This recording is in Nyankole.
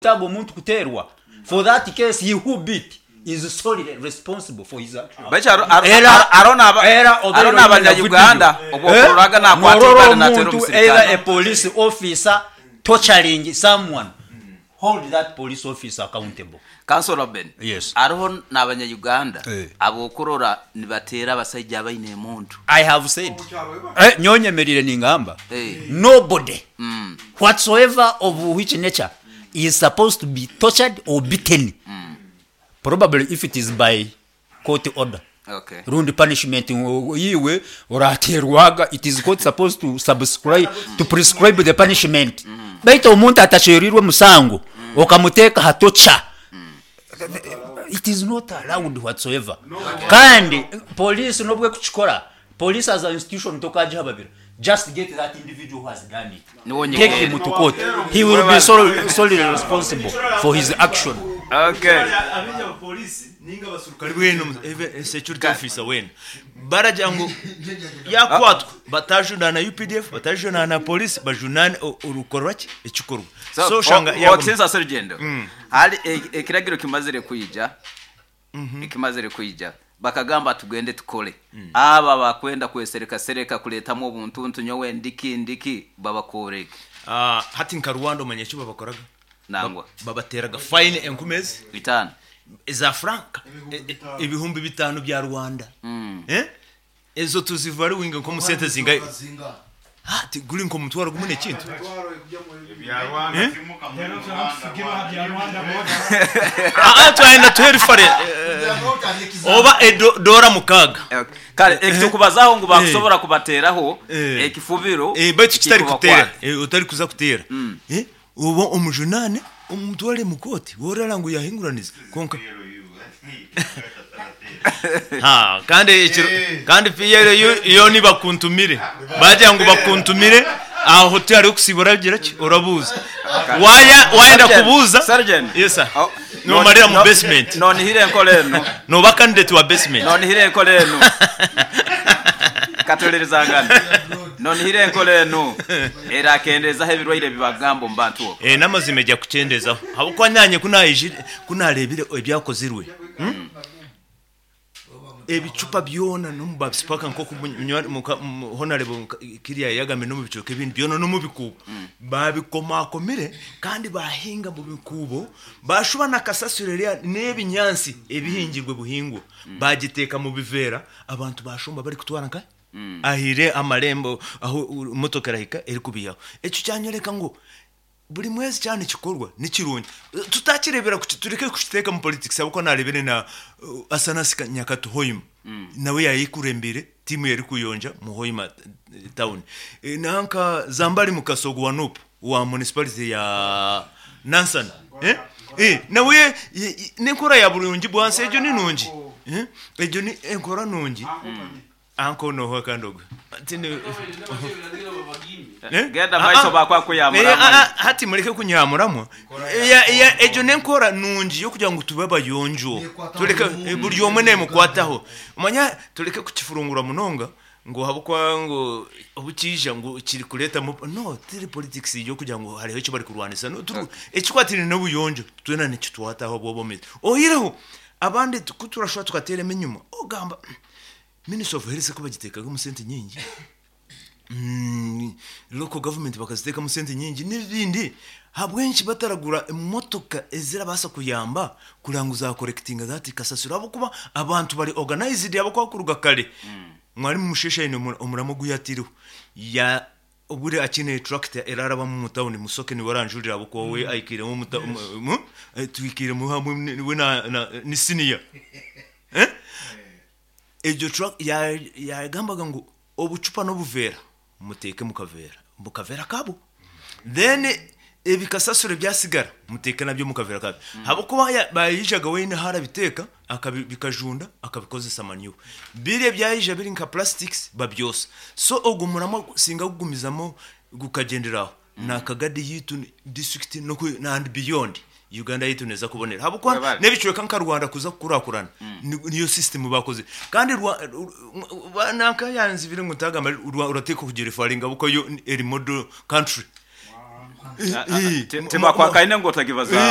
Taaga omuntu kuteerwa for that case he who beat is solely responsible for his actions. Baitu haro- haro- Era haro n'aba- era haro obaire oine n'abanya-Uganda video obu okuroraga nakwata norora eibare nateera omuntu either omusirikale. a police officer torturing someone hold that police officer accountable. Councillor Ben, Yes. hariho n'abanya-Uganda Eh. ab'okurora nibateera abasaija abaine emundu. I have said eh, nyowe nyemereire ningamba Eh. nobody whatsoever of which nature is supposed to be tortured or beaten probably if it is by court order Okay. rundi punishment ngu iwe orateerwaga it is court supposed to subscribe to prescribe the punishment baitu omuntu atacwereirwe musango okamuteeka ha torture it is not allowed whatsoever kandi police n'obu ekukikora police as a institution tokagihababira just get that individual who has done it Niwe take onyegere. him to court he will be solely, solely responsible for his action. Okay. Abaingi abapoliisi ninga abaserukare weena omu- even security officer weena baragira ngu yakwatwa batajunaana UPDF batajunaana police bajunaane o- orukorwa ki ekikorwa So, so oshanga o- yaguma- Okisinza Serugendo. Hali e- ekiragiro kimazire kwija. Ekimazire kwija. Bakagamba tugende tukole. Aba bakwenda kwesereka sereka kuletamu obuntuntu nyowe ndiki ndiki babakoreke. Ah, hati nka Rwanda omanya eki babakoraga Nangwa. Babateraga fine enkumi ezi Bitano. eza franka ebihumbi bitano bya Rwanda. Eh? Ezo tuzivaluinga nkomu sente zingahi? Hati guri nk'omutwaro gumwe n'ekintu. Eh? Ah, ah, twayenda tuhe rifare oba edo dora mukaaga. Okay. Kale ekitukubazaho ngu bakusobora kubateraho Eh. ekifubiro Eh, baitu kitari kuteera ekikubakwata. eh, otari kuza kuteera Eh, oba omujunaane omutware mu kooti worara ngu yahinguraniza kwonka Ha, kandi ekiro kandi PLU yo nibakuntumire bagira ngu bakuntumire aho tihariho kusiiba oragira ki orabuuza waya wayenda Sergeant, kubuuza Sergeant. yes sir Oh, nomarira mu no- basement Nonihire enkora enu. noba candidate wa basement Nonihire enkora enu. Katuhulirizangane. Nonihire enkora enu erakendeezaho ebirwaire ebibagamba omu bantu okwo. Eh, n'amazima egya kukyendezaho habwokuba nanye ku naijire ku nareebire ebyakozirwe hmm? Ebicupa byona n'omu babisipaka nk'oku munywani muka mu- honarebo nka- kiriya yagambire n'omu bicweka ebindi byona n'omu bikuubo babikomakomire kandi bahinga mu bikuubo bashuba na kasasiro eriya n'ebinyaatsi ebihingirwe buhingwa bagiteeka mu biveera abantu bashomba barikutwara nka ahaire amarembo ahu motoka erahika erikubiihaho ekyo kyanyoreka ngu Buri mwezi kyaba nikikorwa nikirungi. Tutakireebera tureke kukiteeka omu politics ahabw'okuba naareebire na Asanasi Nyakato Hoima nawe yaayekurembeire tiimu ye erikuyonja mu Hoima town. Nanka Zambali Mukasa ogwo wa Nup owa municipality ya Nansana nawe n'enkora ya burungi bwansi egyo ni nungi, egyo ni enkora nungi. Anko noha kandi ogwe? Tindi Eh? Genda maiso Ah, ah. bakwakuyamuramu. Eh, ah, ah, hati mureke kunyamuramu. Ya- ya- Egyo n'enkora nungi y'okugira ngu tube abayonjo. Tureke eh, buri omwe nemukwataho. Omanya tureke kukifurungura munonga ngu ahabw'okuba ngu obu kiija ngu kiri kuretamu no tiri politics y'okugira ngu hariho eki barikurwanisa. No, turi ekikwatiraine n'obuyonjo twena nikitwataho obw'obwomeezi. Oihireho abandi ku turashuba tukateeremu enyima ogamba Ministry of Health ku bagiteekagamu sente nyingi, local government bakaziteekamu sente nyingi n'ebindi, ahabw'enki bataragura emotoka ezirabaasa kuyamba kureba ngu za collectinga that kasasiro ahabw'okuba abantu bari organized ahabw'okuba kuruga kare Mwarimu Musheshe aine omurama ogu yaataireho ya obure akiine tractor erarabamu omu town Musoke niwe aranjurira ahabw'okuba we aikairemu omu twikairemu hamwe we ni senior. Egyo truck yagambaga ngu obucupa n'obuveera muteeke mu kaveera mu kaveera kaabwo then ebikasasiro ebyasigara muteeke nabyo mu kaveera kabyo ahabw'okuba bayijaga weena ahu arabiteeka bikajunda akabikozesa manure biri ebyayija biri nka plastics babyosa so ogwo muramwa singa gugumizamu gukagyendera aho na Kagadi yaitu district and beyond Uganda yaitu neeza kubonera ahabw'okuba Webale. n'ebicweka nka Rwanda kuza kukurakurana niyo system bakozire kandi Rwa- Rw- nanka yanzibire ngu ntagamba Rwa- orateekwa kugirefaringa ahabw'okuba yo eri model country. Tibakwakaine ngu otagibazaaho.